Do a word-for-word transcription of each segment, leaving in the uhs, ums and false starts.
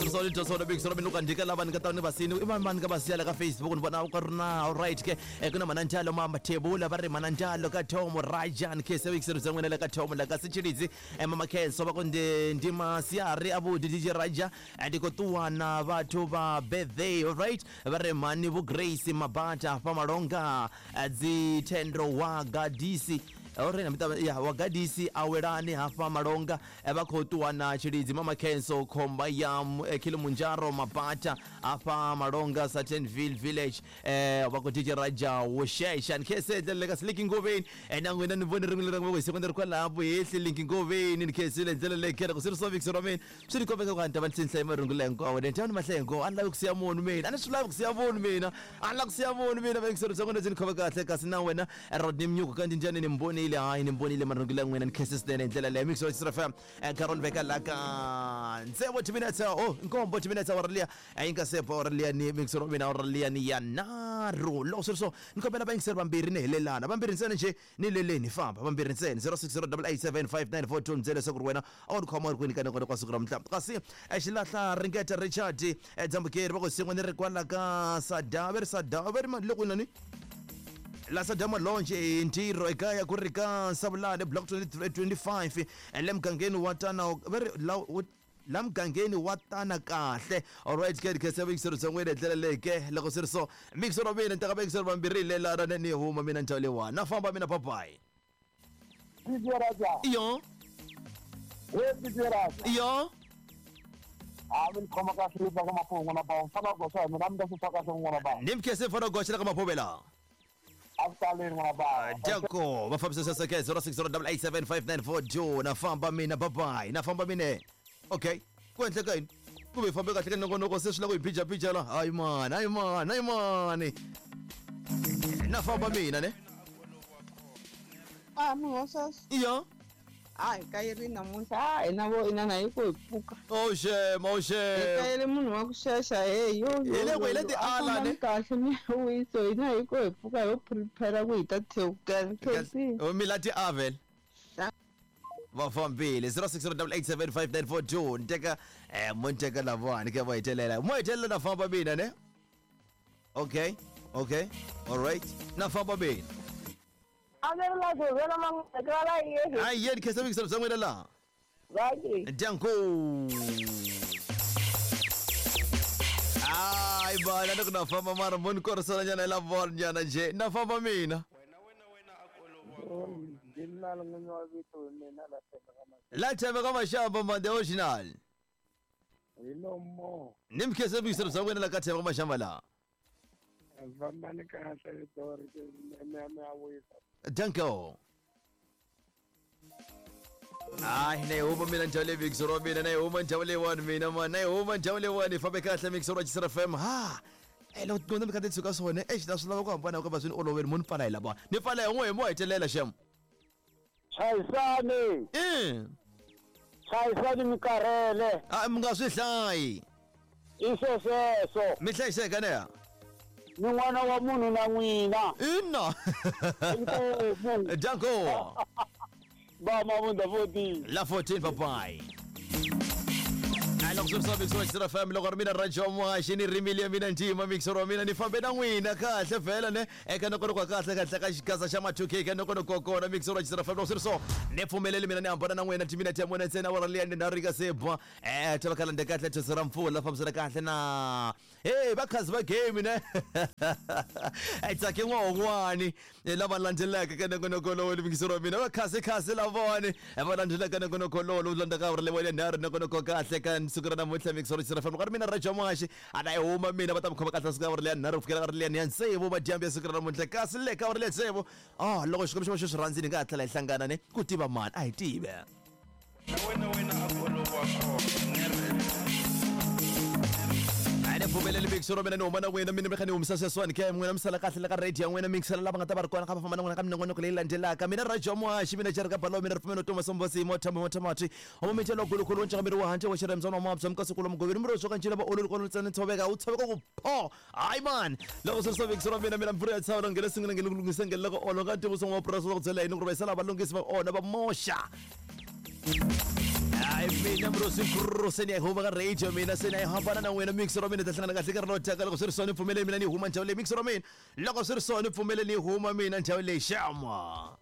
swi ri so ni dya swona big solo mina loko ndika lava ni nga ta ni vasini i mani mani ka va siya la ka Facebook ni vona ku ri na all right ke ku na mananjalo ma Mathebula va ri mananjalo ka Thomo Rajan ke se big solo bya n'wina le ka Thomo la ka Sitshilidzi mama Khenso va ku ndi ndi masiari a vudi D J Raja ndi khou ṱuwa na vhathu vha birthday all right va ri mani vho Grace Mabata fa Malonga dzi Thendo wa Gadisi ore na mita ya wa Gadisi awelani hafha Malonga vha khou ṱuwa na Tshilidzi mama Khenso khomba ya Kilimanjaro Mabata hafha Malonga Satanville village eh va ku D J Raja wo shesha ni khese le ka Slick Ngoveni na n'wina ni vone rin'we leri ngo secondary kwalaho hehli Link Ngoveni ni khesile ndlela leyi kera ku swi ri so vix ra mina swi ni kombeka ku anta va ni hlaya marungu leyi hinkwawo ni ni mahlaya hinkwawo a ni lavi ku siya munhu mina a ni swi lavi ku siya munhu mina a ni lavi ku siya munhu mina va yingiseri bya n'wina byi ni khome kahle kasi na wena Rodney Mnyuku ka njhani ni mbonile hayi ni mbonile marungu leyi n'wina ni khese swinene hi ndlela leyi mix wa Xtra F M Carol veka la ka ntsevo timinetse oh nkombo timinetse wa liya yi nga se ba liya ni mix ra mina wa liya ni ya nharhu loko swi ri so ni kombela va yingiseri vambirhi ni helelana vambirhi ntsena nje ni leleni famba vambirhi ntsena zero six zero eight seven five nine four two ntsena leswaku ri wena a wu ni khoma u ri kwini ka nongonoko wa siku ra mutla kasi xilahla ringeta Richard Dzambukeri va ku sin'we ni ri kwala ka Sada va ri Sada va ri le kwini nani la Sadama Lounge hi ntirho ekaya ku ri ka Savulane block twenty-five le mugangeni wa tana va ri la la mugangeni wa tana kahle alright ke ke se mixer bya n'wina ndlela leyi ke loko swi ri so mixer wa mina ni teka mixer vambirhi lelana ni huma mina ndhawu leyiwani na famba mina bye bye D J Raja iyo we D J Raja iyo a mi khoma kahle ka Maphungu n'wana ba mfana goxa mina mi ta swi kahle n'wana ba ni mkhese mfana goxa ka Maphuvela Aftaleni n'wana ba Danko va fambisa sasa ke zero six zero eight seven five nine four two na famba mina bye bye na famba mina okay ku endleka yini ku ve fambe kahle ka nongonoko se swi lava ku hi phija-phija la hayi mani hayi mani hayi mani na famba mina ne a munhu wa sweswo iyo a hi kayeri namuntlha a hina vo inana hi ku hi pfuka oh shem oh hi shem kayele munhu wa ku xexa he yo Hi le ku hi le tiala ne kahle mi wiso hina hi ku hi pfuka ho prepare ku hi ta thewukela K C mi la tiavel va fambile zero six zero eight seven five nine four two ni teka eh mo ni teka lavawani ke va hetelela mo hetelela na famba mina ne okay okay all right na famba mina a ni ri la ku vela man'wana yini a yeni khesa vikiselo bya n'wina laha vaki Danko hayi bana loko na famba mara mo ni korisela nyana hi lavona nyana nje na famba mina la Themba ka Mashamba man the original hi lomo ni mkhese vikiselo bya n'wina la ka Themba ka Mashamba laha fambani kahle vito ri mi mi a wisa Danko hayi na yi huma mina ndhawu leyi mixer wa mina na yi huma ndhawu leyiwani mina man na yi huma ndhawu leyiwani fambe kahle mixer wa Xtra F M ha e loko tin'wana mi kha ti tshuka swona exi na swi lava ku hambana ku va swi ni oloveli mo ni pfala hi lava ni pfala hi n'we hi mo hetelela xem chayisani i chayisani mi karhele a mi nga swi hlayi i swesweswo mi hlayiseka ne ni n'wana wa munhu na n'wina ina inkomu Danko ba mavunda fourteen la fourteen bye bye loko swi ri swa mixer wa Xtra F M loko ri mina Raja Muhaxi ni rimile ya mina ntima mixer wa mina ni fambe na n'wina kahle vhela ne eka nongonoko wa kahle kahle ka xigaza xa ma two K ka nongonoko wa kona mixer wa Xtra F M loko swi ri so ni pfumeleli mina ni hambana na n'wina timinete ya mune ntsena wa liya ni nharhu yi nga se ba eh ta va kalande kahle those ra mpfula fambisana kahle na hey va khazi va game ne e tsake n'wahon'wani lava landzelaka ka nongonoko lowu ni mixer wa mina va khasi khasi lavawani va landzelaka nongonoko lowu lowu landzaka ri lewa nharhu nongonoko kahle ka siku ra namuntlha mixer wa Xtra F M loko ri mina Raja Muhaxi a na yi huma mina va ta mi khoma kahle siku ra ri leya nharhu ku fikela ka ri leya ya tsevu madyambu ya siku ra namuntlha kasi le ka ri leya tsevu ah loko Xikwembu xi va xi swi rhandzini hi nga ha tlhela hi hlangana ne ku tiva mani a hi tive na wena wena a ku olova kona a ni pfumeleli mixer wa mina ni huma na n'wina mina mi kha ni humisa sweswiwani ke n'wina mi sala kahle la ka radio ya n'wina mixela lava nga ta va ri kona kha va famba na n'wina ka minongonoko leyi landzelaka mina Raja Muhaxi mina Jerry Kabalo mina ripfumelo Thomas Mbosi mo thambo mo thamati omo mitshelo gulukhulu ntshaka miri wa handle wa xiremzana wa mabya mukasukulu mugoveri miri swo kanjila va ololi kona ntsena tshoveka u tshoveka ku pho hayi man loko swi ri swa mixer wa mina mina mpfura ya tshava ngele singile ngele lunghisa ngele loko olo ka ntivo songo wa purasi loko byela yini ku ri va yisela valunghisi va ona va moxa Ai mina mrosi se ni ya huma ka radio mina se ni ya hambana na n'wina mixer wa mina ta hlangana kahle ka ri taka loko swi ri swona pfumele mina ni huma ndhawu leyi mixer wa mina loko swi ri swona pfumele ni huma mina ndhawu leyi xama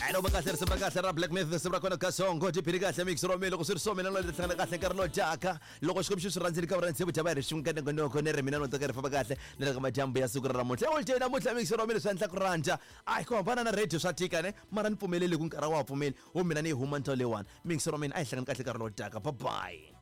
Alo bakahle risimu ra kahle ra Black Myth risimu ra kona Kasongo tiphini kahle mixer wa mina loko swi ri swona mina no hlangana kahle nkarhi lowu taka loko Xikwembu xi swi rhandzile ka vurhandzi vudyava hi ri xinkanengonoko ni ri mina no tsaka ri famba kahle ni le ka madyambu ya siku ra namuntlha holiday namuntlha mixer wa mina swi endla ku rhandza a hi ku hambana na radio swa tika ne mara ni pfumeleli ku nkarhi wa ha pfumeli wo mina ni yi huma ndhawu leyiwani mixer wa mina a hi hlangani kahle nkarhi lowu taka bye bye.